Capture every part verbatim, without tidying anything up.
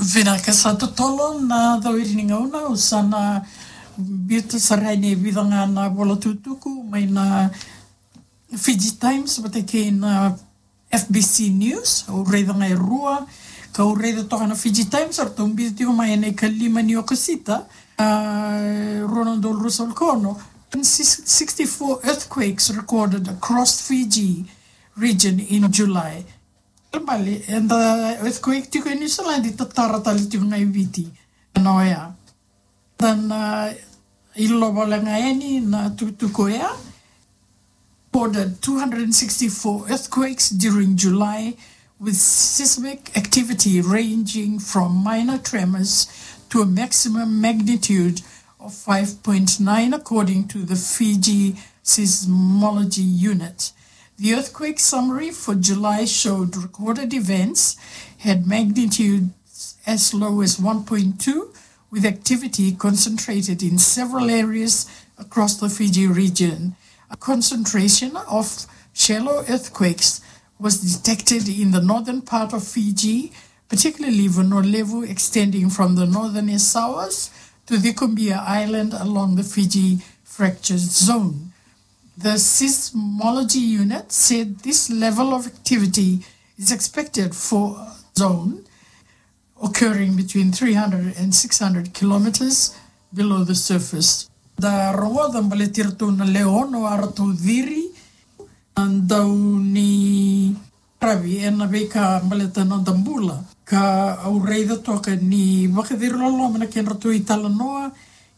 Vinaka, sa totolo na cowiri ni gauna, au sa na biuta sara yani e vica ga na vola tukutuku mai na Fiji Times vata kei na F B C News. Au raica ga e rua, kau raica toka na Fiji Times, eratou biuta tiko mai ena ikalima ni Okosita, a, rua na udolu ruasagavulu ka ono. Sixty-four earthquakes recorded across Fiji region in July. Bale, eda earthquake tiko e New Zealand, tatara tale tiko ga e Viti. Na oya. Then, uh, ilova le ga yani na tukutuku oya. Recorded two hundred sixty-four earthquakes during July, with seismic activity ranging from minor tremors to a maximum magnitude of five point nine, according to the Fiji Seismology Unit. The earthquake summary for July showed recorded events had magnitudes as low as one point two, with activity concentrated in several areas across the Fiji region. A concentration of shallow earthquakes was detected in the northern part of Fiji, particularly Vanua Levu, extending from the northern Yasawas to the Ikumbia Island along the Fiji Fracture Zone. The Seismology Unit said this level of activity is expected for a zone occurring between three hundred and six hundred kilometers below the surface. Da rogoca baleti iratou na lewe ono a ratou ciri, na dau ni ravi ena veika baleta na noda bula. Ka au raica toka ni vakaciri loloma na kedratou italanoa,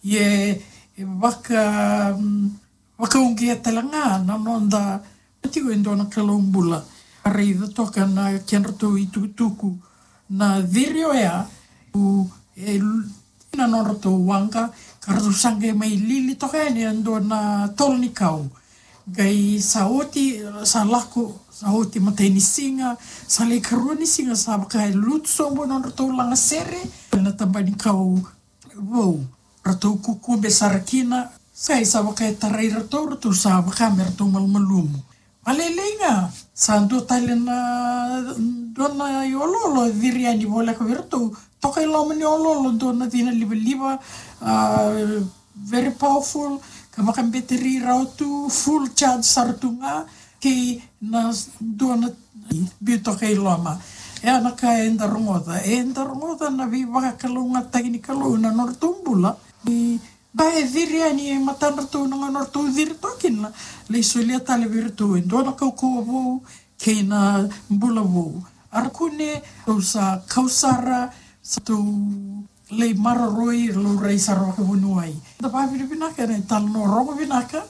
ia e vaka, mm, vakauqeta tale ga na noda tiko e dua na Kalou bula. Raica toka na kedratou itukutuku na ciri oya, u, e, na nodratou waqa, ka ratou sa qai mai lili toka yani e dua na tolo ni kau. Qai sa oti, sa lako, sa oti matai ni siga, sa lai karua ni siga, sa vaka e lutu sobu na nodratou lagasere na taba ni kau vou. Ratou kukube sara kina, sa i sa vaka e tarai ratou, ratou sa vaka me ratou malumalumu. Vale, lailai ga, sa dua tale na, dua na ioloolo e ciri yani voleka vei iratou. Toka i loma ni oloolo dua na cina livaliva, a, very powerful, ka vakabeteri rawa tu, full charge sara tu ga, kei na dua na biu toka i loma. E a na ka eda rogoca, eda rogoca na veivakalougatataki ni Kalou na nodratou bula. Ni ka e ciri yani e matadratou na gauna ratou ciri toka kina, lai solia tale vei iratou e dua na kaukauwa vou kei na bula vou. A ra kune, ratou sa kau sara, sa ratou lai maroroi, laurai sara vakavuniwai. Da vakavinavinaka ena italanoa rogo vinaka,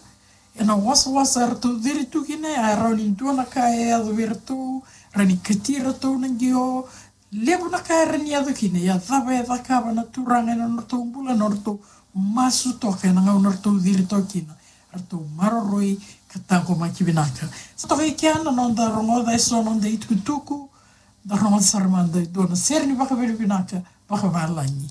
ena wasawasa eratou ciri tu kina, e rawa ni dua na ka e yaco vei iratou, rawa ni kati iratou na qio, levu na ka era ni yaco kina, ia cava e cakava na Turaga ena nodratou bula, nodratou masu toka ena gauna ratou ciri toka kina, ratou maroroi ka taqomaki vinaka. Sa toka i kea na noda rogoca eso na noda itukutuku, da rogoca sara mada e dua na sere ni vakavinavinaka vakavalagi.